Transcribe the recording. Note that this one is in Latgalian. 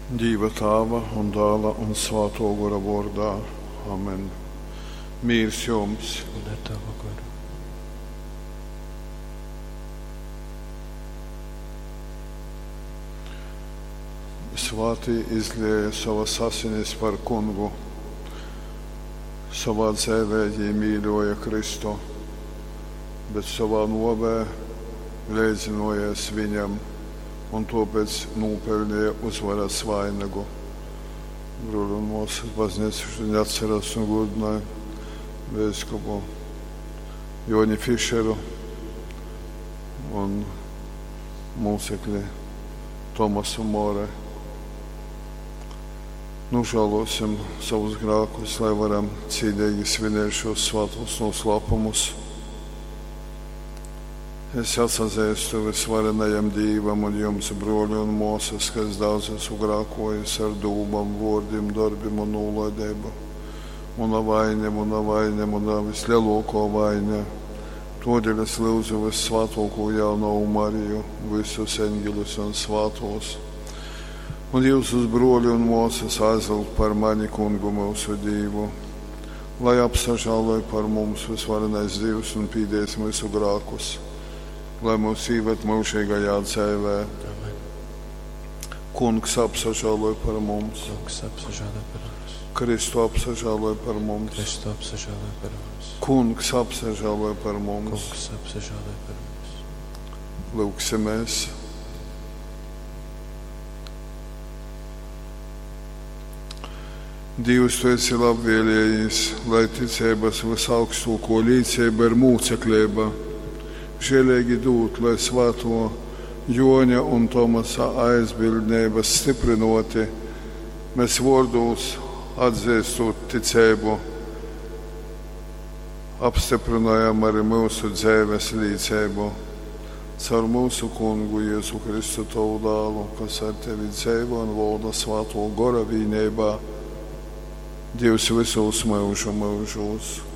Dīva Tāva un Dāla un Svātō Gora vōrdā. Amen. Mīrs jums! Un ar tavu goru. Svātī izlēja sovas asinis par kungu. Sovā dzeivē jī mīļōja Kristu, bet sovā nōvē leidzynōjōs viņam un tōpēc nūpeļneja uzvaras vainagu. Bruoli un mōsas, baznīca šodien atceras un godināja biskupu Joni Fišeru un mūcekli Tomasu More. Nožēlosim savus grēkus, lai varam cīnīgi svinēt šos svētos noslēpumus. Es atsazīstu visvarenajam Dīvam un jums, broļi un māsas, ka es daudz esmu grēkojis ar dūmām, vārdiem, darbiem un nolaidību. Muna vaine, muna vaine, muna vislielākā vaine. Todēļ es lūdzu vissvētāko jaunavu Mariju, visus eņģeļus un svētos. Un jūsus broļi un māsas aizlūgt par mani kungu mūsu Dievu, lai apsažāloj par mums visvarenais Dievs un pīdēs mūsu grēkus, lai mūs ieved mūžīgajā dzīvē. Amen. Kungs apsažāloj par mums, Kungs apsažālo par mums. Kristu apsažāloj par mums, Kristu apsažālo par mums. Kungs apsažāloj par mums. Kungs apsažālo par mums. Lūksimies! Dievs, tu esi labvēlējis, lai ticības visaugstāko līdzība ir mūceklība. Žēlīgi dūt, lai svēto Joņa un Tomasa aizbildnības stiprinoti, mēs vārdūs atzīstot ticību, apstiprinājam arī mūsu dzīves līdzību. Caur mūsu kungu Jēzu Kristu tavu dēlu, kas ar tevi dzīvo un valda svēto gora vienībā, Dievs visos mūžu mūžos.